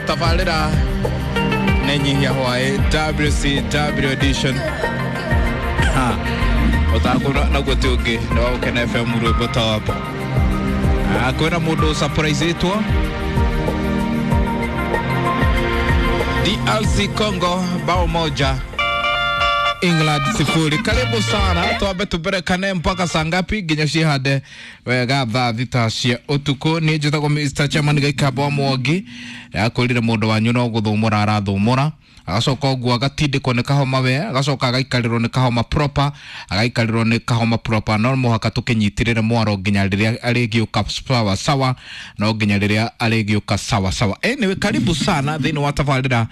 Tabarĩra nĩ nyihia hwaĩ WCW edition. Ha, mũthako naguo ti ũngĩ nĩ wa Gũkena FM rwĩmbo top. Ah, kwĩna mũndũ surprise-ĩtwo DRC Congo bao 1 England 0. Karibu sana, twambe tũberekane mpaka saa ngapi nginya cihande wega thaa 6 cia ũtukũ. Niĩ njĩtagwo Mr. Chairman Gaikamba wa Mwangi, akwĩrire mũndũ wanyu no gũthũmũra arathũmũra, agacoka ũguo agatindĩkwo nĩ kahoma we, agacoka agaikarĩrwo nĩ kahoma proper, agaikarĩrwo nĩ kahoma proper. No mũhaka tũkĩnyitĩrĩre mwaro nginya rĩrĩa arĩgĩũka sawa sawa, no nginya rĩrĩa arĩgĩũka sawa sawa. Anyway, karibu sana thĩinĩ wa tabarĩra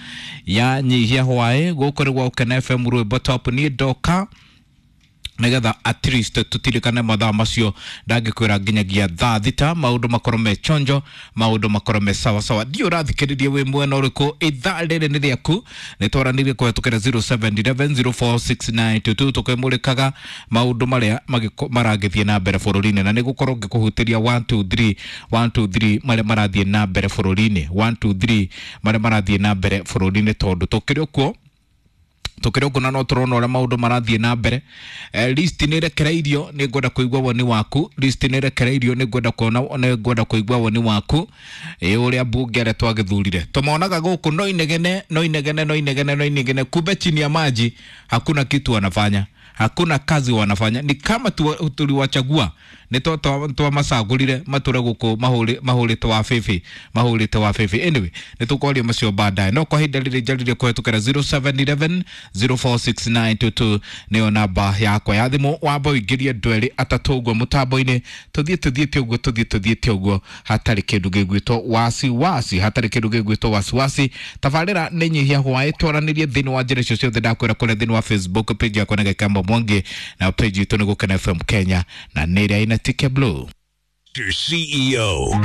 ya nyihia hwaĩ gũkũ nĩ gwa Gũkena FM rwĩmbo top. Niĩ ndoka nigetha at least tutirikane mathaa macio ndangĩkwĩra nginyagia thaa 6 maũndũ makorwo me chonjo, maũndũ makorwo me sawa sawa. Ndiũ ũrathikĩrĩria wĩ mwena ũrĩkũ, ithaa rĩrĩ nĩ rĩaku. Nĩ twaranĩrie kũhetũkĩra 0711046922 tũkĩmũrĩkaga maũndũ marĩa maragĩthiĩ na mbere bũrũri-inĩ, na nĩ gũkorwo ngĩkũhutĩria 1 2 3 1 2 3 marĩa marathiĩ na mbere bũrũri-inĩ, 1 2 3 marĩa marathiĩ na mbere bũrũri-inĩ, tondũ tũkĩrĩ ũkuo tukĩrĩ ũguo na no tũrona ũrĩa maũndũ marathiĩ na mbere. List nĩ ĩrekereirio, nĩ ngwenda kũigua woni waku. List nĩ ĩrekereirio, nĩ ngwenda kuona, nĩ ngwenda kũigua woni waku ĩ ũrĩa mbunge arĩa twagĩthurire tũmonaga gũkũ no inegene, no inegene, no inegene, no inegene, kumbe chini ya maji hakuna kitu wanafanya, hakuna kazi wanafanya, ni kama tuliwachagua nĩ twamacagũrire matũre gũkũ mahũrĩte wa bĩbĩ, mahũrĩte wa bĩbĩ. Anyway, nĩ tũkwaria macio baadaye, no kwa ihinda rĩrĩ njarĩrie kũhetũkĩra 0711 046922 nĩyo namba yakwa ya thimũ. Wamba ũingĩrie andũ erĩ atatũ ũguo mũtambo-inĩ, tũthiĩ tũthiĩte ũguo, tũthiĩ tũthiĩte ũguo, hatarĩ kĩndũ gĩgwĩtwo wasiwasi, hatarĩ kĩndũ gĩgwĩtwo wasiwasi. Tabarĩra nĩ nyihia hwaĩ, twaranĩrie thĩinĩ wa njĩra icio ciothe ndakwĩra kũrĩa thĩinĩ wa Facebook page yakwa nĩ Gaikamba Mwangi, na page itũ nĩ Gũkena FM Kenya, na nĩ ĩrĩa ina tike blue. Mr. CEO.